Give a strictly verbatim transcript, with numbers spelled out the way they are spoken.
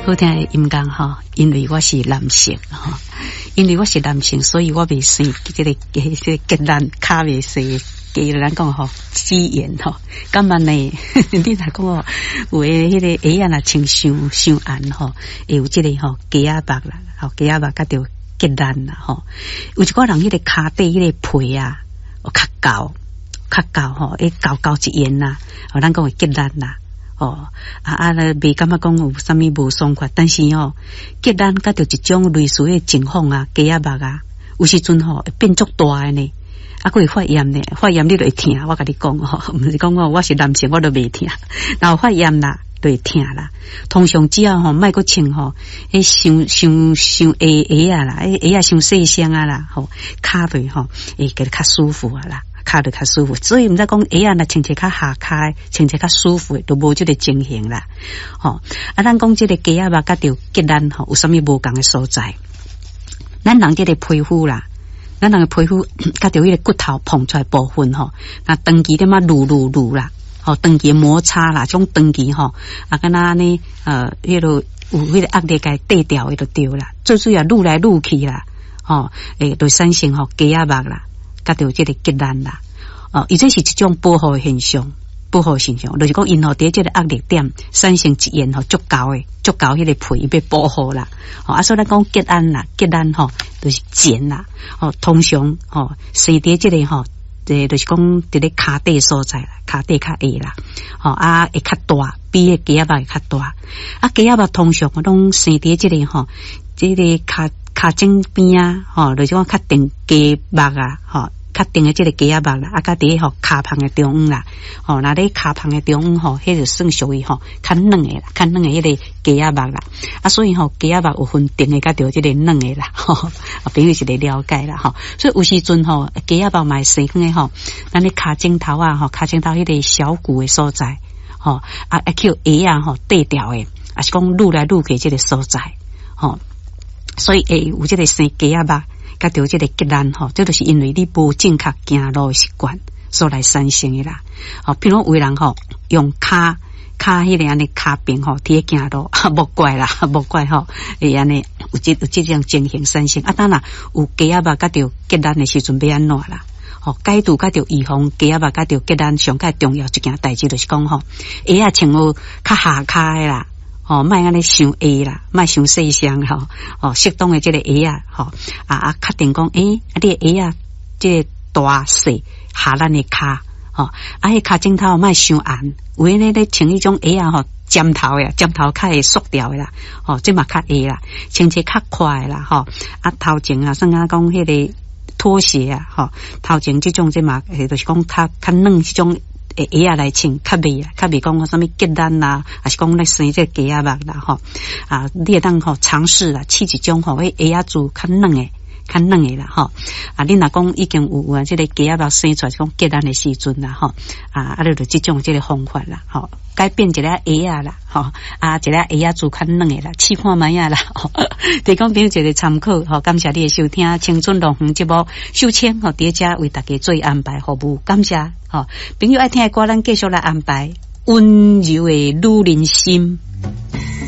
好聽的音樂吼，因為我是男性吼，因為我是男性，所以我袂生這個這個結難跤袂細，加咱講吼語言吼，感覺呢？你若講哦，有的彼個鞋仔若穿傷傷硬吼，會有這個吼雞仔肉啦，吼雞仔肉佮著結難啦吼。有一寡人彼個跤底彼個皮啊，較厚較厚吼，會厚厚一緣啦，吼咱講會結難啦。哦，啊啊，袂感覺講有啥物無爽快，但是吼，結難佮著一種類似的情況啊，雞仔肉啊，有時陣吼會變足大的呢，啊，閣會發炎呢，發炎你就會疼，我共你講吼，毋是講我是男性我都袂疼，然後發炎啦，就會疼啦。通常只要吼莫閣穿吼，彼傷傷傷鞋鞋仔啦，彼鞋仔傷細雙仔啦，吼，跤就吼會覺得較舒服啊啦。跤就較舒服，所以毋知講鞋仔若穿一較下跤，穿一較舒服，就無這個情形啦。吼，啊，咱講這個雞仔肉佮著結難吼，有啥物無仝的所在？咱人這個皮膚啦，咱人的皮膚佮著彼個骨頭膨出來部分吼，那長期點仔擼擼擼啦，吼，長期摩擦啦，這種長期吼，啊，敢若按呢，呃，彼個有彼個壓力共綴掉的就對啦。最主要擼來擼去啦，吼，會就產生吼雞仔肉啦。佮著這個結難啦，哦，伊這是一種保護現象，保護現象，就是講𪜶吼佇這個壓力點產生一緣吼足厚的，足厚彼個皮伊欲保護啦，哦，啊，所以咱講結難啦，結難吼就是繭啦，哦，通常吼生佇這個吼，這就是講佇咧跤底所在啦，跤底較下啦，吼啊會較大，比彼個雞仔肉會較大，啊雞仔肉通常攏生佇這個吼，這個跤跤踭邊啊，吼，就是講較長雞肉啊，吼。較長的這個雞仔肉啦，啊，佮佇吼跤肠的中央啦，吼，若咧跤肠的中央吼，彼就算屬於吼較軟的啦，較軟的彼個雞仔肉啦，啊，所以吼雞仔肉有分甜的佮著這個軟的啦，吼，朋友一個了解啦，吼，所以有時陣吼雞仔肉嘛會生囥吼，咱咧跤踭頭啊，吼，跤踭頭彼個小骨的所在，吼，啊啊去鞋仔吼綴掉的，抑是講擼來擼去這個所在，吼，所以會有這個生雞仔肉。佮著這個結難吼，這就是因為你無正確行路的習慣所來產生的啦。吼，比如有人吼用跤跤彼個按呢跤爿吼，佇咧行路，無怪啦，無怪吼，會按呢有這有這種情形產生。啊，當然有雞仔肉佮著結難的時陣欲按怎啦？吼，解除佮著預防雞仔肉佮著結難上蓋重要一件代誌就是講吼，鞋仔穿好較下跤的啦。吼，莫按呢傷下啦，莫傷細雙吼，吼，適當的這個鞋仔，吼，啊啊，確定講，欸，啊，你的鞋仔這個大細合咱的跤，吼，啊，彼跤踭頭莫傷硬，有的咧穿彼種鞋仔吼，尖頭的，尖頭較會縮掉的啦，吼，這嘛較下啦，穿一較寬的啦，吼，啊，頭前啊，算啊講彼個拖鞋啊，吼，頭前這種這嘛，就是講較較軟這種。鞋仔來穿，較袂啊，較袂講啥物結難啦，抑是講咧生這個雞仔肉啦，吼啊，你會當吼嘗試啦，試一種吼，彼鞋仔做較軟的，較軟的啦，吼啊，你若講已經有有啊，這個雞仔肉生出來，講結難的時陣啦，吼啊，啊，你就這種這個方法啦，吼，改變一下鞋仔啦，吼啊，一下鞋仔做較軟的啦，試看覓仔啦，提供朋友一個參考，吼，感謝你的收聽，青春樂園節目，秀清吼，佇遮為大家做安排服務，感謝。吼，朋友愛聽的歌，咱繼續來安排溫柔的女人心。